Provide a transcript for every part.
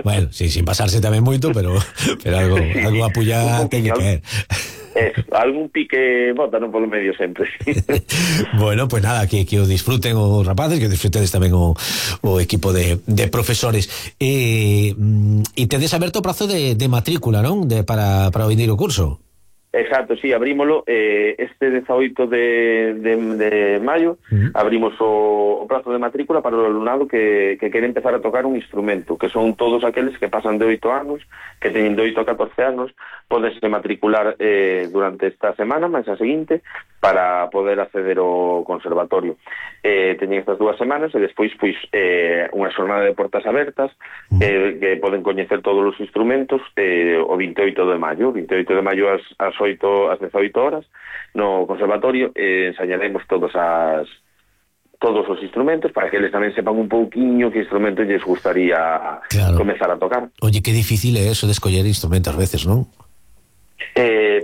Bueno, sí, sin pasarse tamén moito, pero algo apoyar ten que caer. Algún pique bota non polo medio sempre. Bueno, pues nada, que o disfruten os rapaces, que disfrutedes tamén o equipo de profesores. E tedes aberto o prazo de matrícula, non? Para o vindeiro curso. Exacto, sí, abrímolo este 18 de maio. Abrimos o prazo de matrícula para o alumnado que quere empezar a tocar un instrumento, que son todos aqueles que pasan de 8 anos, que teñen de 8 a 14 anos, podense matricular durante esta semana, máis a seguinte, para poder acceder ao conservatorio. Teñen estas 2 semanas e despois unha xornada de portas abertas que poden coñecer todos os instrumentos o 28 de maio. 28 de maio ás 18 horas no conservatorio ensañaremos todos os instrumentos para que eles tamén sepan un pouquiño que instrumento lles gustaría comezar a tocar. Oye, que difícil é eso de escoller instrumentos ás veces, non?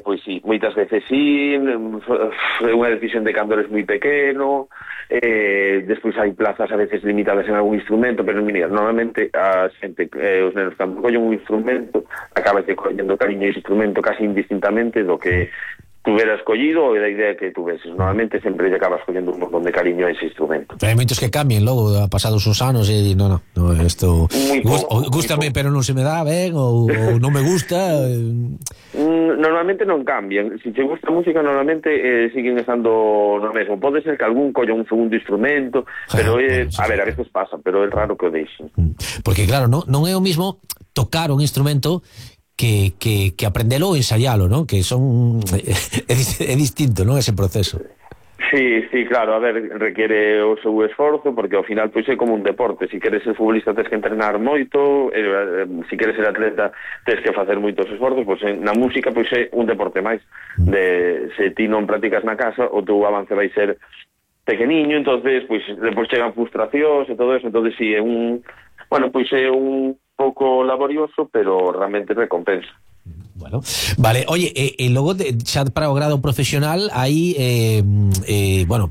Pois sí, moitas veces sí, é unha decisión de cando eres moi pequeno, despois hai plazas a veces limitadas en algún instrumento, pero mira, normalmente a xente, os nenos cando collen un instrumento acabas collendo cariño a ese instrumento casi indistintamente do que tuveras collido ou da idea que tuveses. Normalmente sempre lle acabas collendo un montón de cariño a ese instrumento. Hai moitos que cambien logo, pasados uns anos e no, isto gústame pero non se me dá ben ou non me gusta. Normalmente non cambian. Se te gusta a música normalmente siguen estando no mesmo. Pode ser que algún colla un segundo instrumento, pero a veces pasa, pero é raro que o deixen. Porque claro, non é o mismo tocar un instrumento que aprendelo ou ensayalo, non? Que son é distinto, non? Ese proceso. Sí, claro, a ver, requiere o seu esforzo, porque ao final pois é como un deporte. Se queres ser futbolista tens que entrenar moito, se queres ser atleta tens que facer moitos esforzos, pois na música pois é un deporte máis. Se ti non practicas na casa, o teu avance vai ser pequeniño, entonces pois depois chegan frustracións e todo eso, entonces si é un pouco laborioso, pero realmente recompensa. Bueno, vale, oye, logo xa para o grado profesional hai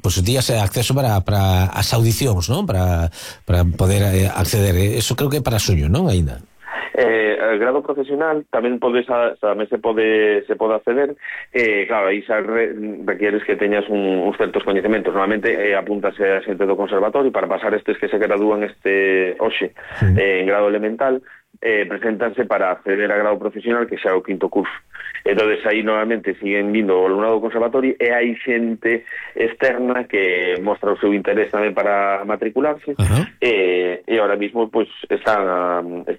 pues días acceso para as audicións, non? Para poder acceder, eso creo que é para suño, non? Ainda. El grado profesional tamén se pode acceder, claro, aí xa requieres que teñas uns certos coñecementos. Normalmente apúntase a xente do conservatorio para pasar estes que se gradúan hoxe en grado elemental, presentanse para acceder a grado profesional, que xa é o 5º curso. Entonces aí normalmente siguen vindo o alumnado do conservatorio e hai xente externa que mostra o seu interés tamén para matricularse. E ahora mismo pues está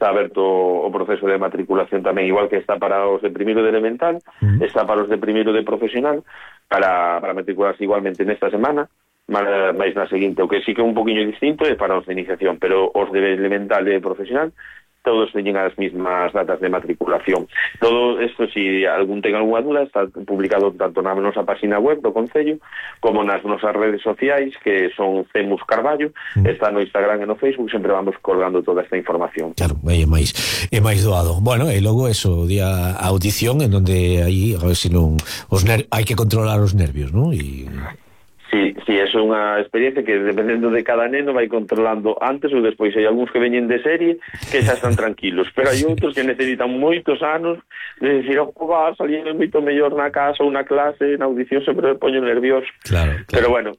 aberto o proceso de matriculación tamén, igual que está para os de primeiro de elemental, está para os de primeiro de profesional, para matricularse igualmente nesta semana, máis na seguinte. O que sí que é un poquinho distinto é para os de iniciación, pero os de elemental e profesional todos teñen as mismas datas de matriculación. Todo isto, si algún ten algunha duda, está publicado tanto na nosa página web do Concello como nas nosas redes sociais, que son Cemus Carballo, está no Instagram e no Facebook, sempre vamos colgando toda esta información. Claro, é máis doado. Bueno, e logo eso, día a audición, en donde aí, a ver se non hai que controlar os nervios, non? Sí, eso é unha experiencia que dependendo de cada neno vai controlando antes ou despois. Hai algúns que veñen de serie que xa están tranquilos, pero hai outros que necesitan moitos anos de decir, salí moito mellor na casa ou na clase, na audición sempre me poño nervioso. Claro. Pero bueno,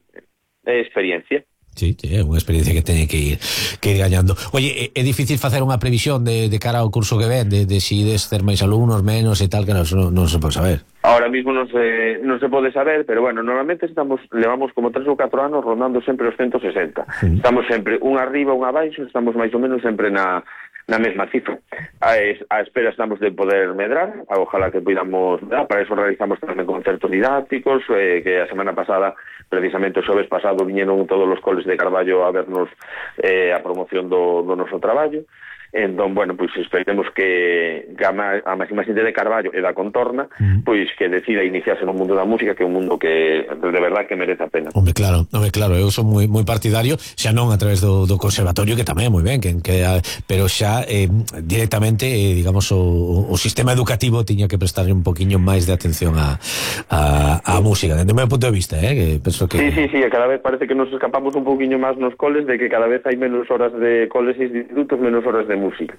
é experiencia. Sí, é unha experiencia que teñe que ir gañando. Oye, é difícil facer unha previsión de cara ao curso que ven, de si ides ter máis alumnos, menos e tal, que non se pode saber. Ahora mismo non se pode saber, pero bueno, normalmente levamos como 3 ou 4 anos rondando sempre os 160. Estamos sempre un arriba, un abaixo, estamos máis ou menos sempre na mesma cifra. A espera estamos de poder medrar, ojalá que podamos medrar. Para eso realizamos tamén concertos didácticos, que a semana pasada, precisamente o xoves pasado, viñeron todos os coles de Carballo a vernos a promoción do noso traballo. Entón, bueno, pois esperemos que a máxima xente de Carballo e da contorna pois que decida iniciarse no mundo da música, que é un mundo que de verdad que merece a pena. Hombre, claro, eu son moi partidario, xa non a través do conservatorio, que tamén moi ben, pero xa directamente, digamos, o sistema educativo tiña que prestarle un poquinho máis de atención á música, desde o meu punto de vista, que penso que... Sí, cada vez parece que nos escapamos un poquinho máis nos coles, de que cada vez hai menos horas de coles e institutos, menos horas de música.